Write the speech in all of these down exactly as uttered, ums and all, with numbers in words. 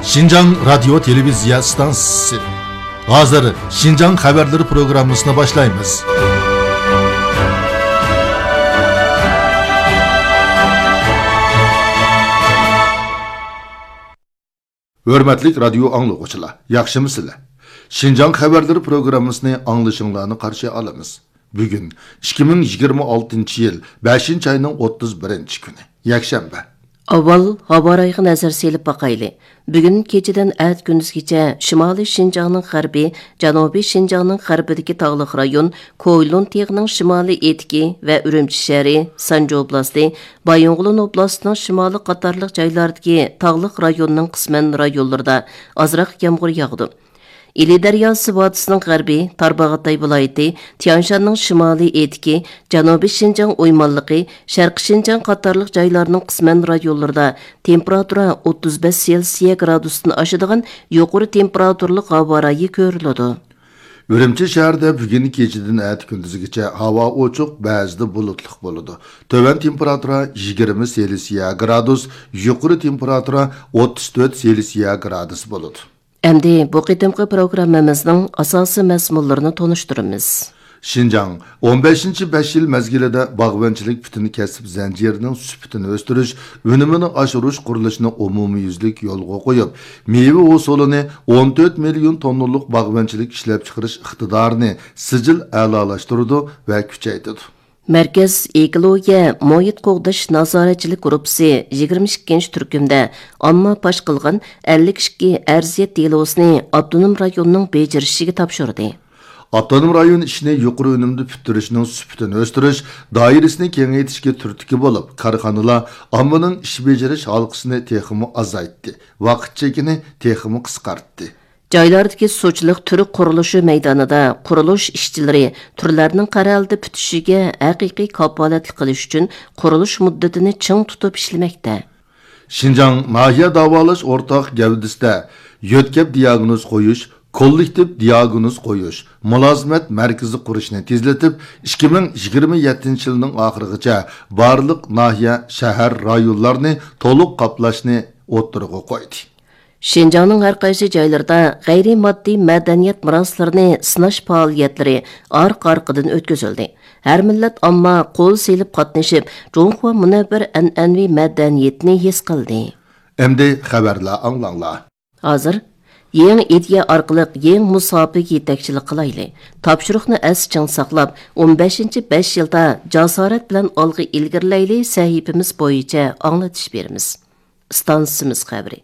شىنجاڭ رادىيو تېلېۋىزىيە ئىستانسىسى. ھازىر شىنجاڭ خەۋەرلىرى پروگراممىسىنى باشلايمىز. ھۆرمەتلىك رادىيو ئاڭلىغۇچىلار، ياخشىمۇسىلەر؟ شىنجاڭ خەۋەرلىرى پروگراممىسىنى ئاڭلىشىڭلارنى قارشى ئالىمىز. بۈگۈن ئىككى مىڭ يىگىرمە ئالتىنچى يىل بەشىنچى ئاينىڭ ئوتتۇز بىرىنچى كۈنى، يەكشەنبە. ئاۋۋال ھاۋا رايىغا نەزەر سېلىپ باقايلى. بۈگۈن كېچىدىن ئەتە كۈندۈزگىچە شىمالىي شىنجاڭنىڭ غەربى، جەنۇبىي شىنجاڭنىڭ غەربىدىكى تاغلىق رايون، كويلۇن تېغىنىڭ شىمالىي ئېتىكى ۋە ئۈرۈمچى شەھىرى، سانجى ئوبلاستى، بايىنغولىن ئوبلاستىنىڭ شىمالى قاتارلىق جايلاردىكى تاغلىق رايوننىڭ قىسمەن رايونلىرىدا ئازراق يامغۇر ياغىدۇ. ئىلى دەرياسى ۋادىسىنىڭ غەربى، تارباغاتاي ۋىلايىتى، تيانشاننىڭ شىمالىي ئېتىكى، جەنۇبىي شىنجاڭ ئويمانلىقى، شەرقىي شىنجاڭ قاتارلىق جايلارنىڭ قىسمەن رايونلىرىدا تېمپېراتۇرا ئوتتۇز بەش سېلسىيە گرادۇستىن ئاشىدىغان يۇقىرى تېمپېراتۇرىلىق ھاۋا رايى كۆرۈلىدۇ. ئۈرۈمچى شەھىرىدە بۈگۈن كېچىدىن ئەتە كۈندۈزگىچە ھاۋا ئوچۇق، بەزىدە بۇلۇتلۇق بولىدۇ. تۆۋەن تېمپېراتۇرا يىگىرمە سېلسىيە گرادۇس، يۇقىرى تېمپېراتۇرا ئوتتۇز تۆت سېلسىيە گرادۇس بولىدۇ. ئەمدى بۇ قېتىمقى پروگراممىمىزنىڭ ئاساسىي مەزمۇنلىرىنى تونۇشتۇرىمىز. شىنجاڭ ئون بەشىنچى بەش يىل مەزگىلىدە باغۋەنچىلىك پۈتۈن كەسىپ زەنجىرىنىڭ سۈپىتىنى ئۆستۈرۈش، ئۈنۈمىنى ئاشۇرۇش قۇرۇلۇشىنى ئومۇميۈزلۈك يولغا قويۇپ، مېۋە ھوسۇلىنى ئون تۆت مىليون توننىلىق باغۋەنچىلىك ئىشلەپچىقىرىش ئىقتىدارىنى سىجىل ئەلالاشتۇرىدۇ ۋە كۈچەيتىدۇ. مەركەز ئېكولوگىيە، مۇھىت قوغداش نازارەتچىلىك گۇرۇپپىسى يىگىرمە ئىككىنچى تۈركۈمدە ئامما پاش قىلغان ئەللىك ئىككى ئەرزىيەت دېلوسىنى ئاپتونوم رايوننىڭ بېجىرىشىگە تاپشۇردى. ئاپتونوم رايون ئىشنى يۇقىرى ئۈنۈمدە پۈتتۈرۈشنىڭ سۈپىتىنى ئۆستۈرۈش، دائىرىسىنى كېڭەيتىشكە تۈرتكە بولۇپ، كارخانىلار ئاممىنىڭ ئىش بېجىرىش ھالقىسىنى تېخىمۇ ئازايتتى، ۋاقىت چېكىنى تېخىمۇ قىسقارتتى. جايلاردىكى سۇچىلىق تۈرك قۇرۇلۇشى مەيدانىدا قۇرۇلۇش ئىشچىلىرى تۈرلەرنىڭ قەرەلدە پۈتۈشىگە ھەقىقىي كاپالەتلىك قىلىش ئۈچۈن قۇرۇلۇش مۇددىتىنى چىڭ تۇتۇپ ئىشلىمەكتە. شىنجاڭ ناھىيە داۋالاش ئورتاق گەۋدىسىدە يۆتكەپ دىياگنوز قويۇش، كوللېكتىپ دىياگنوز قويۇش، مۇلازىمەت مەركىزى قۇرۇشنى تېزلىتىپ، ئىككى مىڭ يىگىرمە يەتتىنچى يىلنىڭ ئاخىرىغىچە بارلىق ناھىيە، شەھەر، رايونلارنى تولۇق قاپلاشنى ئوتتۇرىغا قويدى. شىنجاڭنىڭ ھەر قايسى جايلىرىدا غەيرىي ماددىي مەدەنىيەت مىراسلىرىنى سىناش پائالىيەتلىرى ئارقا-ئارقىدىن ئۆتكۈزۈلدى. ھەر مىللەت ئامما قول سېلىپ قاتنىشىپ، جۇڭخۇا مۇنەۋۋەر ئەنئەنىۋى مەدەنىيىتىنى ھېس قىلدى. ئەمدى خەۋەرلەر ئاڭلاڭلار. ھازىر يېڭى ئىدىيە ئارقىلىق يېڭى مۇساپىگە يېتەكچىلىك قىلايلى. تاپشۇرۇقنى ئەستە چىڭ ساقلاپ، ئون بەشىنچى بەش يىلدا جاسارەت بىلەن ئالغا ئىلگىرىلەيلى سەھىپىمىز بويىچە ئاڭلىتىش بېرىمىز. ئىستانسىمىز خەۋىرى.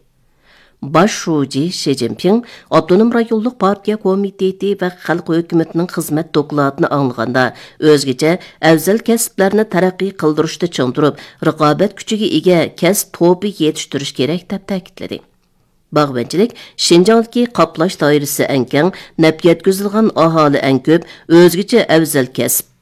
باش شۇجى شى جىنپىڭ ئاپتونوم رايونلۇق پارتىيە كومىتېتى ۋە خەلق ھۆكۈمىتىنىڭ خىزمەت دوكلاتىنى ئاڭلىغاندا، ئۆزگىچە ئەۋزەل كەسىپلەرنى تەرەققىي قىلدۇرۇشتا چىڭ تۇرۇپ، رىقابەت كۈچىگە ئىگە كەسىپ توپى يېتىشتۈرۈش كېرەك، دەپ تەكىتلىدى. باغۋەنچىلىك شىنجاڭدىكى قاپلاش دائىرىسى ئەڭ كەڭ، نەپ يەتكۈزىدىغان ئاھالە ئەڭ كۆپ، ئۆزگىچە ئەۋزەل كەسىپ.